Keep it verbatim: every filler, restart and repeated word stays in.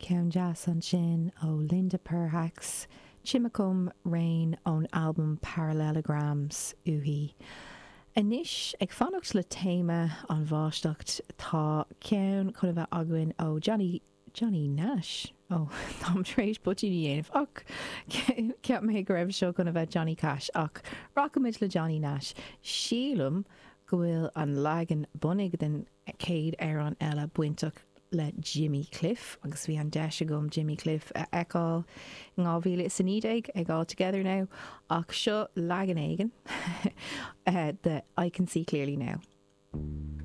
Ceann deas ansin ó Linda Perhacs, Chimacum Rain ón albam Parallelograms uaithi. Anois ag fanacht le téama an bháisteacht tá ceann chun a bheith againn ó Johnny Johnny Nash ó Táim tar éis poitín a dhéanamh ach cheap mé go raibh seo chun a bheith Johnny Cash ach rachaimid le Johnny Nash. Sílim go bhfuil an leagan bunaidh den chéad amhrán eile bainteach le Jimmy Cliff agus bhí an deis agam Jimmy Cliff a fheiceáil in dhá mhíle is a naoi déag ag All Together Now ach seo leagan éigin de I Can See Clearly Now.